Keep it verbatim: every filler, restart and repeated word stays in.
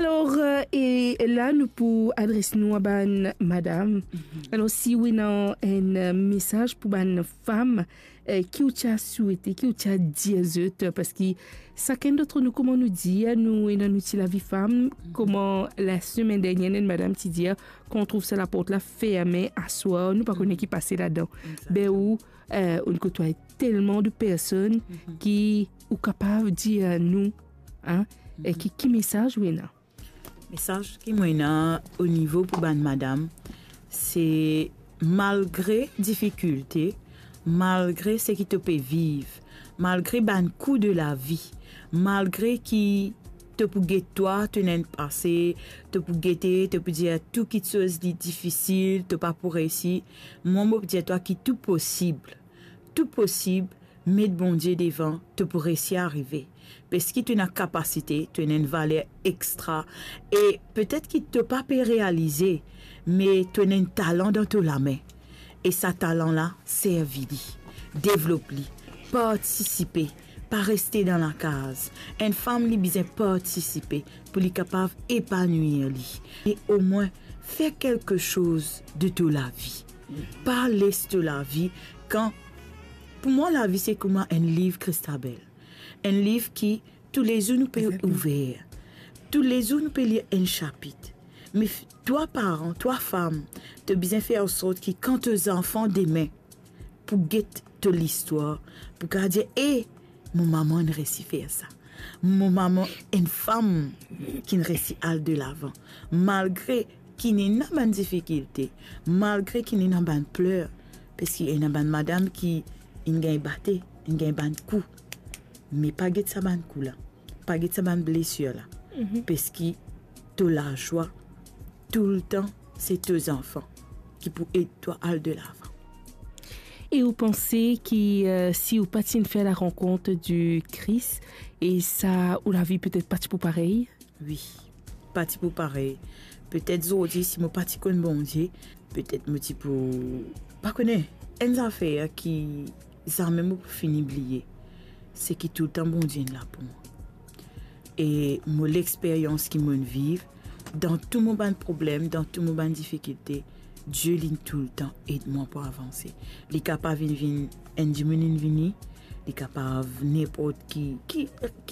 Alor, eh, e la nou pou adres nou a bann madam. Mhm. Alor, si ou ena enn, eh, mesaz pou bann fam, eh, ki ou ti a swete, ki ou ti a dir zot, parski sakenn d'ant nou, kouma nou dir, nou ena nou ti lavi fam, mhm, kouma lasemenn dernie, enn madam ti dir, kan ou trouv sa laport la ferme aswar, nou pa kone, mhm, ki pase ladan. Exactement. Be ou, eh, ou inn koutwaye telman de personn, mhm, ki ou kapav dir nou, hein, e, mhm, ki, ki mesaz ou ena? Mesaz ki mo ena o nivo pou bann madam, se malgre difikilte, malgre seki to pe viv, malgre bann kou de lavi, malgre ki to pou get twa, to ena enn pase, to pou gete, to pou dir tou kitsoz li difisil, to pa pou reysi, mwa mo pou dir twa ki tou posib. Tou posib, met Bondie devan, to pou reysi arive. Parski to ena kapasite, to ena enn valer extra, e petet ki to pa pe realize, me to ena enn talan dan to lame. E sa talan la, servi li, devlop li, partisipe, pa reste dan lakaz. Enn fam, li bizin partisipe pou li kapav epanwir li. E omwin, fer kelke soz de to lavi. Pa les to lavi kan, pou mwa, lavi se kouma enn liv, Christabel. Enn liv ki toulezour nou pe, exactement, ouver. Toulezour nou pe lir enn sapit. Me f-, twa paran, twa fam, to bizin fer ansort ki kan to zanfan demin pou get to listwar, pou kapav dir, "E, mo mama inn reysi fer sa. Mo mama enn fam ki'nn reysi al delavan, malgre ki'nn ena bann difikilte, malgre ki'nn ena bann pler." Parski ena bann madam ki inn gagn bate, inn gagn bann kou. Me pa get sa bann kou la, pa get sa bann blesir la. Mhm. Parski to lazwa toultan, se to zanfan ki pou ed twa al delavan. E ou panse ki, eh, si ou pa ti'nn fer la rankont di Kris, e sa, ou lavi petet pa ti pou parey? Wi, pa ti pou parey. Petet zordi, si mo pa ti konn Bondie, petet mo ti pou, pa kone, enn zafer ki zame mo pou fini bliye, se ki toultan Bondie inn la pou mwa. E mo lexperyans ki mo'nn viv, dan tou mo bann problem, dan tou mo bann difikilte, Die, li'nn toultan ed mwa pou avanse. Li kapav vinn, vinn enn dimoun inn vini, li kapav ninport ki, ki,